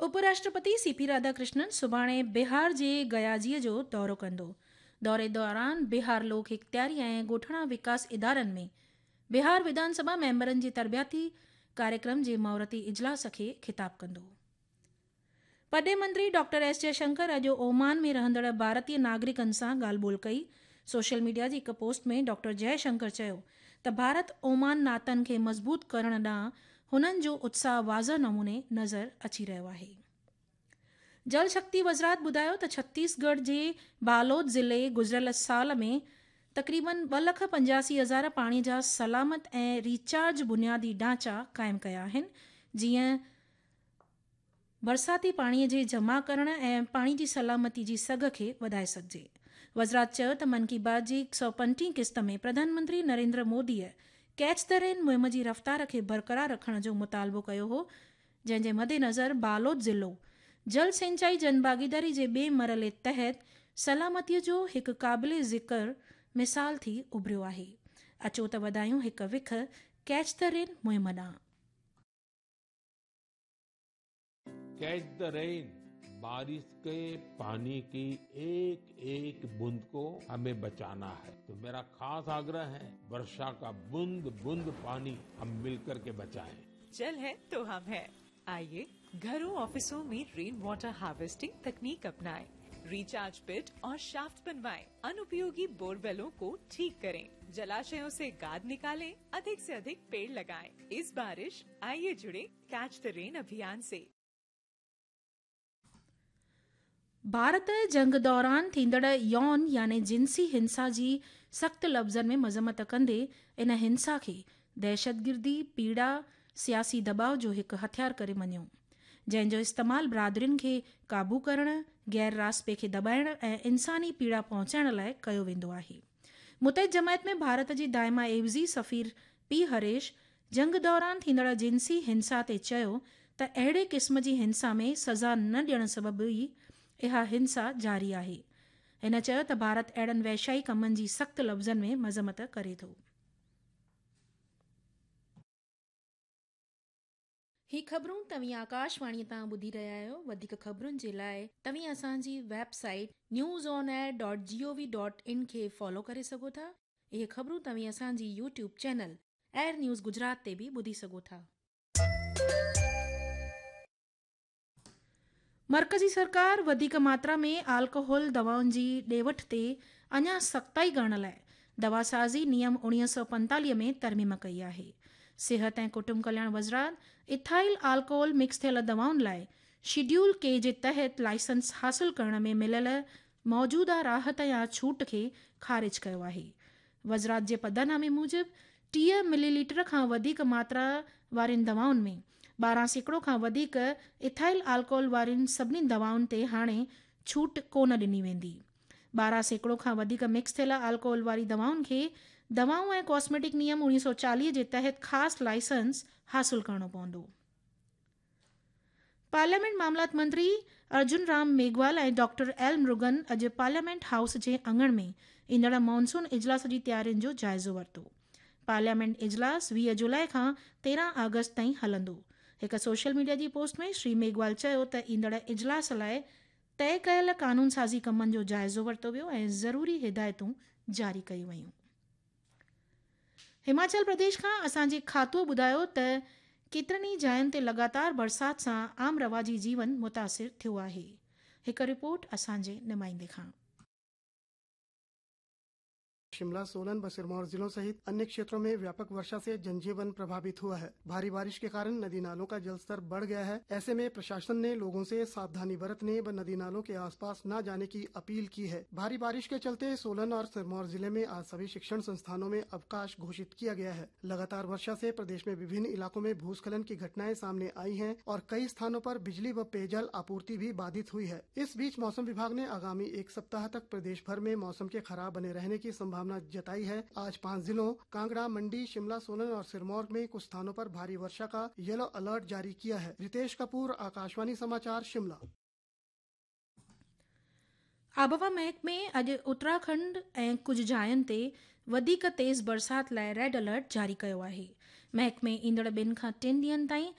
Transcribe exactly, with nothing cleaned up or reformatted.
उपराष्ट्रपति C P Radhakrishnan सुभाणे बिहार जे गयाजीअ जो दौरो कंदो। दौरे दौरान बिहार लोक इख्तियारी ऐं ॻोठाणा विकास इदारनि में बिहार विधानसभा मेंबरनि जे तरबियती कार्यक्रम जे मुहूर्ती इजलास खे ख़िताब कंदो। परॾेह मंत्री डॉक्टर एस जयशंकर अॼु ओमान में रहंदड़ भारतीय नागरिकनि सां ॻाल्हि ॿोल कई। सोशल मीडिया जी हिकु पोस्ट में डॉक्टर जयशंकर चयो त भारत ओमान नातनि खे मज़बूत करण ॾांहुं हुननि जो उत्साह वाज़ह नमूने नज़र अची रहियो आहे। जल शक्ति वज़ारत ॿुधायो त छत्तीसगढ़ जे बालोद ज़िले गुज़िरियल साल में तक़रीबन ॿ लख पंजासी हज़ार पाणीअ जा सलामत ऐं रिचार्ज बुनियादी ढांचा क़ाइमु कया आहिनि, जीअं बरसाती पाणीअ जे जमा करण ऐं पाणी जी सलामती जी सघ खे वधाए सघिजे। वज़ारत चयो त मन की बात जी हिकु सौ पंटीह क़िस्त में प्रधानमंत्री नरेंद्र मोदीअ कैच the rain मुहिम जी रफ़्तार खे बरक़रार रखण जो मुतालबो कयो हो, जंहिंजे मदेनज़र बालोद ज़िलो जल सिंचाई जन भागीदारी जे ॿिए मरहले तहत सलामतीअ जो हिकु क़ाबिल ज़िक्र मिसाल थी उभरियो आहे। अचो त वधायूं हिकु विख कैच the rain मुहिम ॾांहुं। कैच the rain, बारिश के पानी की एक एक बूंद को हमें बचाना है। तो मेरा खास आग्रह है, वर्षा का बूंद बूंद पानी हम मिलकर के बचाएं। जल है तो हम है। आइए घरों ऑफिसों में रेन वाटर हार्वेस्टिंग तकनीक अपनाएं, रिचार्ज पिट और शाफ्ट बनवाएं, अनुपयोगी बोरवेलों को ठीक करें, जलाशयों से गाद निकालें, अधिक से अधिक पेड़ लगाएं। इस बारिश आइए जुड़े कैच the rain अभियान से। भारत जंग दौरान थींदड़ यौन यानी जिंसी हिंसा जी सख़्त लफ़्ज़नि में मज़म्मत कंदे इन हिंसा खे दहशतगिर्दी, पीड़ा, सियासी दबाव जो हिकु हथियार करे मञियो, जंहिंजो इस्तेमालु बरादरियुनि खे क़ाबू करण, गैर रास्पे खे दॿाइण ऐं इंसानी पीड़ा पहुचाइण लाइ कयो वेंदो आहे। मुतहिद जमायत में भारत जी दाइमा एवज़ी सफ़ीर पी हरीश जंग दौरान थींदड़ जिंसी हिंसा ते चयो त अहिड़े क़िस्म जी हिंसा में सज़ा न ॾियण सबबु ई इहा हिंसा जारी आहे। हिन चयो त भारत अहिड़नि वैशाई कमनि जी सख़्त लफ़्ज़नि में मज़म्मत करे थो। ही ख़बरूं तव्हीं आकाशवाणी तां ॿुधी रहिया आहियो। वधीक ख़बरुनि जे लाइ तव्हीं असांजी website news on air dot G O V dot in खे फॉलो करे सघो था। इहे ख़बरूं तव्हीं असांजी YouTube channel air news Gujarat ते बि ॿुधी सघो था। मर्कज़ी सरकार वधीक मात्रा में अल्कोहल दवाउनि जी ॾे वठ ते अञा सख़्ताई करण लाइ दवासाज़ी नियम उणिवीह सौ पंतालीह में तरमीम कई आहे। सिहत ऐं कुटुंब कल्याण वज़ारत इथाइल अल्कोहल मिक्स थियल दवाउनि लाइ शेड्यूल के जे तहत लाइसेंस हासिल करण में मिलियल मौजूदा राहत या छूट खे ख़ारिज कयो आहे। वज़ारत जे पधरनामे मूजिबि टीह मिलीलीटर खां वधीक मात्रा वारियुनि दवाउनि में ॿारहं सैकड़ो खां वधीक इथाइल अल्कोहल वारियुनि सभिनी दवाउनि ते हाणे छूट कोन ॾिनी वेंदी। ॿारहं सैकड़ो खां वधीक मिक्स थियल अल्कोहल वारी दवाउनि खे दवाऊं ऐं कॉस्मेटिक नियम उणिवीह सौ चालीह जे तहत ख़ासि लाइसेंस हासिल करिणो पवंदो। पार्लियामेंट मामलात मंत्री अर्जुन राम मेघवाल ऐं डॉक्टर एल मुरुगन अॼु पार्लियामेंट हाउस जे आङण में ईंदड़ मानसून इजलास जी तयारियुनि जो जाइज़ो वरितो। पार्लियामेंट इजलास वीह जुलाई खां तेरहं अगस्त ताईं हलंदो। हिकु सोशल मीडिया जी पोस्ट में श्री मेघवाल चयो त ईंदड़ इजलास लाइ तय कयल कानून साज़ी कमनि जो जाइज़ो वरितो वियो ऐं ज़रूरी हिदायतूं जारी कयूं वयूं। हिमाचल प्रदेश खां असांजे खातो ॿुधायो त केतिरनि ई जायुनि ते लगातार बरसात सां आम रवाजी जीवन मुतासिर थियो आहे। हिकु रिपोर्ट असांजे नुमाइंदे खां। शिमला, सोलन व सिरमौर जिलों सहित अन्य क्षेत्रों में व्यापक वर्षा से जनजीवन प्रभावित हुआ है। भारी बारिश के कारण नदी नालों का जलस्तर बढ़ गया है। ऐसे में प्रशासन ने लोगों से सावधानी बरतने व नदी नालों के आसपास न जाने की अपील की है। भारी बारिश के चलते सोलन और सिरमौर जिले में आज सभी शिक्षण संस्थानों में अवकाश घोषित किया गया है। लगातार वर्षा से प्रदेश में विभिन्न इलाकों में भूस्खलन की घटनाएं सामने आई है और कई स्थानों पर बिजली व पेयजल आपूर्ति भी बाधित हुई है। इस बीच मौसम विभाग ने आगामी एक सप्ताह तक प्रदेश भर में मौसम के खराब बने रहने की संभावना जताई है। आज पांच जिलों कांगड़ा, मंडी, शिमला, सोलन और सिरमौर में कुछ स्थानों पर भारी वर्षा का येलो अलर्ट जारी किया है। रितेश कपूर, आकाशवाणी समाचार, शिमला। आबहवा महकमे अॼु उत्तराखंड ऐं कुझु जायुनि ते वधीक तेज़ बरसात लाइ रेड अलर्ट जारी कयो आहे। महकमे ईंदड़ ॿिनि खां टिनि ॾींहंनि ताईं